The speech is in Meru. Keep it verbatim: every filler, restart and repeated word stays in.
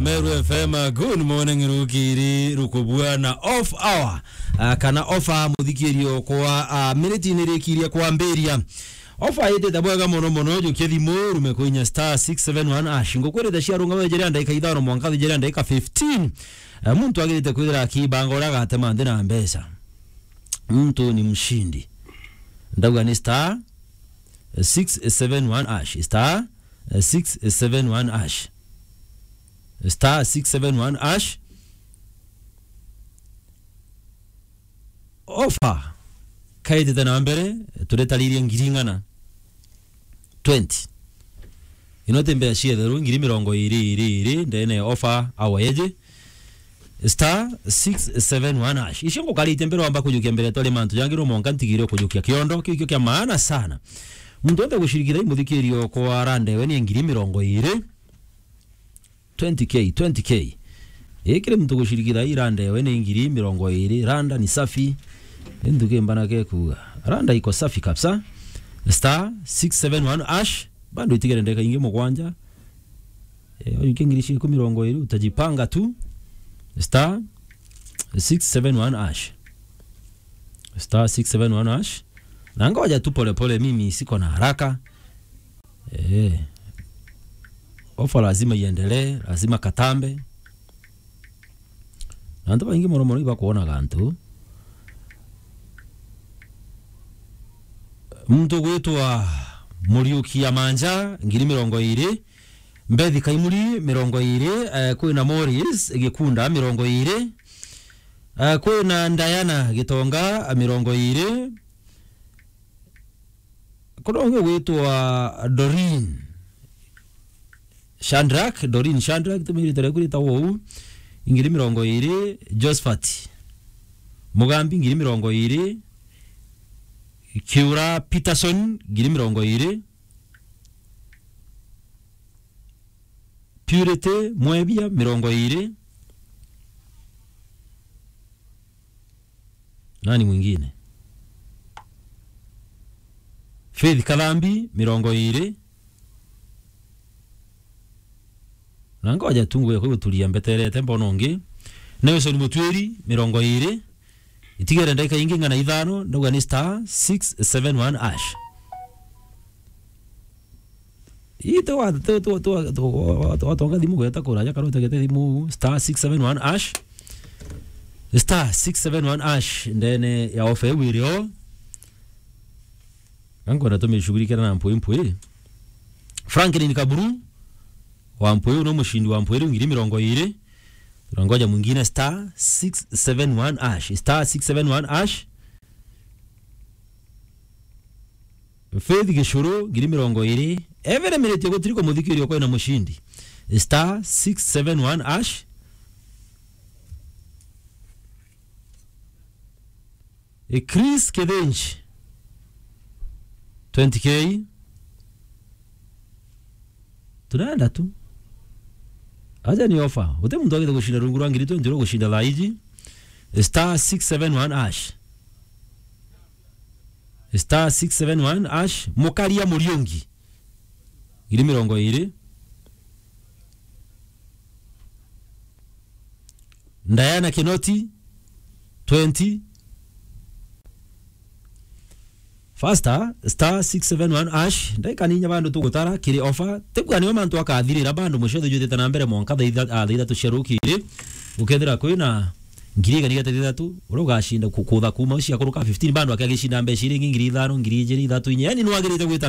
Meru F M, good morning, rukiri rukubua na off hour, ah, kana offer muthikirio kwa, ah, miniti ni rikiria kwambiria. Offer itite bwega mono mono, jukia thimu, rume kuinya star six seven one hash. Ngukwirite ciarunga wejere ndagika ithano mwanka thijere ndagika fifteen. Eh, muntu agirite kwithira akibanga uria agatema nthi na mbeca. Mtu ni mshindi. Ndauga ni star six seven one hash. Star six seven one hash. Star six seven one hash. Offer kaitite na mbere, turetaririe ngiri ing'ana. Twenty. Ino ti mbeca cia itheru, ngiri mirongo iri, iri, iri, ndene ya offer hour yeji. Star six seven one hash. Icio ngukarite mbere wamba kujukia mbere twari mantu jangi, rumonka ntigire kujukia kiondo, kiu kio kia maana sana. Muntu wonthe gucirikira imuthikirio kwa randa ewe ni ngiri mirongo iri. Twenty K, twenty K. Ii kiri muntu gucirikira ii randa ewe ni ngiri mirongo iri, randa ni safi. Ni ntuki mbana ke kuuga. Randa iko safi kabisa. Star six seven one hash. Bado itigere ndeka ingi mugwanja. Eh, ujukie ngiri ciaku mirongo iri, utajipanga tu. Star six seven one hash. Star six seven one hash. Na ngoja tu pole pole, mimi siko na haraka. Eh. Ofa lazima iendelee, lazima katambe. Na antu baingi mono mono ibakuona gantu. Muntu gwitwa Muriuki ya Manja, ngiri mirongo iri. Mbethi Kaimuri, mirongo iri. Eh, kwina Morris Gikunda, mirongo iri. Eh, kwina Diana Gitonga, mirongo iri. Kuna ungi gwitwa Doreen Shadrack, Doreen Shadrack, tumirite riaku ritagwo uu, ngiri mirongo iri, Josephat Mugambi, ngiri mirongo iri, Kiura Peterson, ngiri mirongo iri, Purity Mwebia, mirongo iri. Nani mwingine? Faith Kathambi, mirongo iri. Na ngoja tu nguye kwi guturia mbeterete mbona ungi. Nelson Mutwiri, mirongo iri. Itigere ndagika ingi ng'ana ithano, ndauga ni star six seven one hash. Ii ti wa, ti, ti, ti wa, ti wa, ti wa, ti wa thimu gweta kuraja kana utegete thimu, star six seven one hash. Star six seven one hash, ndene ya ofa iu irio. Nangwenda tumishughulikira na mpwi mpwi. Franklin Kaburu wa mpwi, uno mushindi wa mpwi riu ngiri mirongo iri. Tunangoja mwingine, star six seven one hash. Star six seven one hash. Faith Gicuru, ngiri mirongo iri. Every minute gutiri kumuthikiria kwina mushindi. Star six seven one hash. E Chris Kithinji, twenty K. Tunaenda tu. Aja ni ofa. Uti muntu agite gushinda rungu rwa ngiri twenty ro gushinda thaa iji. Star six seven one hash. Star six seven one hash. Mukaria Muriungi, ngiri mirongo iri. Diana Kinoti, twenty. Faster, star six seven one hash. Ndaika ninya bandu tugutara kiri ofa. Tibwa niyo mantu akathirira bandu mucio thujutite na mbere monka thaa itha-, ah, thaa ithatu cia rukiri. Ukethira kwina ngiri igana igana ithatu, uria ugashinda ku-, kutha kuma cia kuruka fifteen, bandu akiagishinda mbeca iria ingi ngiri ithano, ngiri ijiri, ithatu, inya. Yani nwagirite gwita